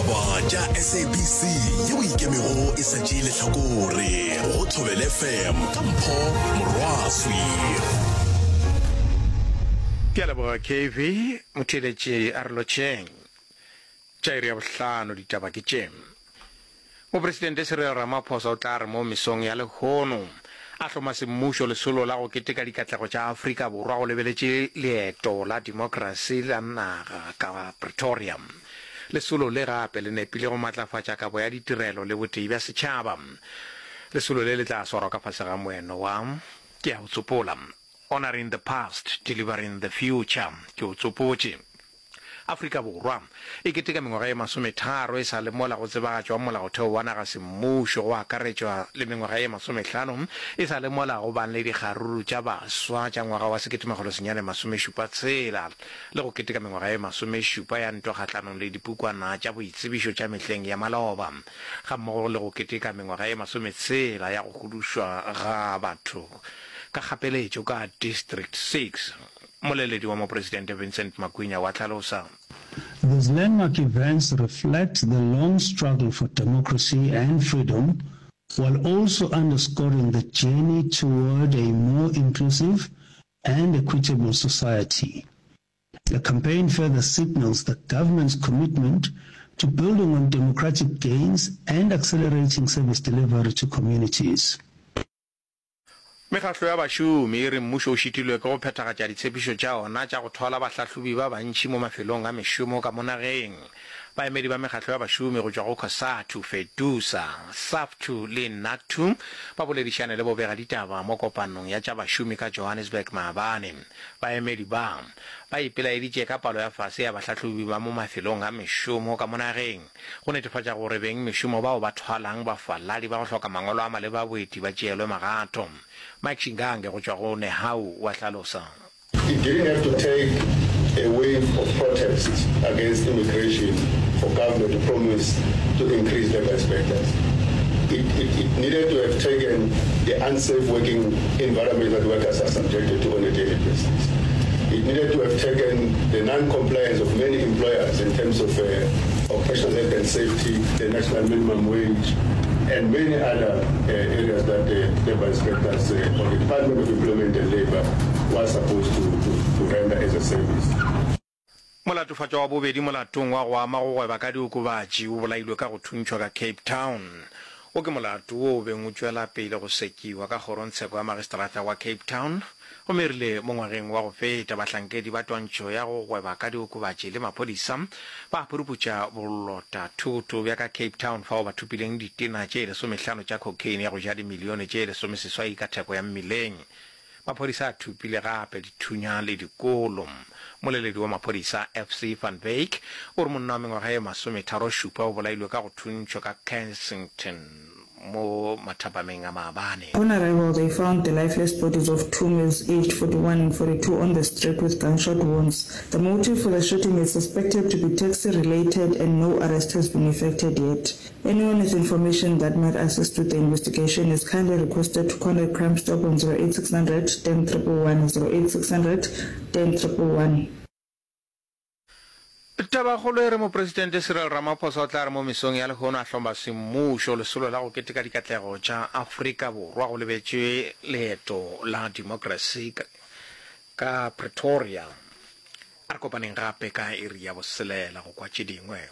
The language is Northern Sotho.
Ditaba tša SABC yeo e ikemego e sa tšee lehlakore go Thobela FM ka Mpho Morwaswi. Ke a leboga KV, motheeletši a re lotšheng. Tša iri ya bohlano ditaba ke tše. Mopresidente Cyril Ramaphosa o tla re mo mesong ya lehono a hloma semmušo lesolo la go keteka dikatlego tša Afrika Borwa go lebeletše leeto la demokrasi la naga ka Pretoria. Lesolo le gape le nepile go matlafatša kabo ya ditirelo le botee bja setšhaba. Lesolo le le tla swarwa ka fase ga moeno wa Ke a o tsopola, Honouring the Past, Delivering the Future, Ke o tsopotše. Afrika Borwa e keteka mengwaga ye masometharo e sa le mola go tsebagatšwa Molaotheo wa naga semmušo, go akaretšwa le mengwaga ye masomehlano e sa le mola go bang le dikgaruru tša baswa tša ngwaga wa 1976 le go keteka mengwaga ye masomešupa ya ntwa kgahlanong le dipukwana tša boitsebišo tša mehleng ya maloba gammogo le go keteka mengwaga ye masometshela ya go hudušwa ga batho ka kgapeletšo ka District Six. Mmoleledi wa Mopresidente Vincent Magwinya wa hlalosa. These landmark events reflect the long struggle for democracy and freedom while also underscoring the journey toward a more inclusive and equitable society. The campaign further signals the government's commitment to building on democratic gains and accelerating service delivery to communities. Mekgatlo ya bašomi e re mmušo o šitilwe ke go phethagatša ditshepišo tša ona tša go thwala bahlahlobi ba bantši mo mafelong a mešomo ka mo nageng. Baemedi ba mekgatlo ya bašomi go tšwa go Cosatu, Fedusa, Saftu le Nactu ba boledišane le bobegaditaba mo kopanong ya tša bašomi ka Johannesburg maabane. Baemedi ba, ba ipelaeditše ka palo ya fase ya bahlahlobi ba mo mafelong a mešomo ka mo nageng. Go netefatša gore bengmešomo bao ba thwalang bafaladi ba go hloka mangwalo a maleba a boeti ba tšeelwe magato. Mike Shingange go tšwa go Nehawu wa hlalosa. It didn't have to take a wave of protests against immigration for government to promise to increase labour inspectors. It, it, it needed to have taken the unsafe working environment that workers are subjected to on a daily basis. It needed to have taken the non-compliance of many employers in terms of uh, occupational health and safety, the national minimum wage, and many other uh, areas that the labor inspectors uh, or the Department of Employment and Labor was supposed to, to, to render as a service. Molatofatšwa wa bobedi molatong wa go ama go gweba ka diokobatši o bolailwe ka go thuntšhwa ka Cape Town. Wo ke molato wo o beng o tšwela pele go sekiwa ka kgorongtsheko ya magistrata wa Cape Town gomme e rile mo ngwageng wa go feta bahlankedi ba twantšho ya go gweba ka diokobatši le maphodisa ba phuruputša bolota thoto bja ka Cape Town fao ba thopileng ditena tše lesomehlano tša cocaine ya go ja dimilione tše lesomeseswai ka theko ya mmileng. Maphodisa a thopile gape dithunya le dikolo. Mmoleledi wa maphodisa, FC van Wyk, o re monna wa mengwaga ye masometharošupa o bolailwe ka go thuntšhwa ka Kensington mo mathapameng a maabane. On arrival, they found the lifeless bodies of two males aged 41 and 42 on the street with gunshot wounds. The motive for the shooting is suspected to be taxi-related and no arrest has been effected yet. Anyone with information that might assist with the investigation is kindly requested to contact Crime Stop on 08600 10 111, 08600 10 111. Tabakgolo e re Mopresidente Cyril Ramaphosa o tla re mo mesong ya lehono a hloma semmušo lesolo la go keteka dikatlego tša Afrika Borwa go lebetšwe leeto la demokrasi ka Pretoria. A re kopaneng gape ka iri ya boselela go kwa tše dingwe.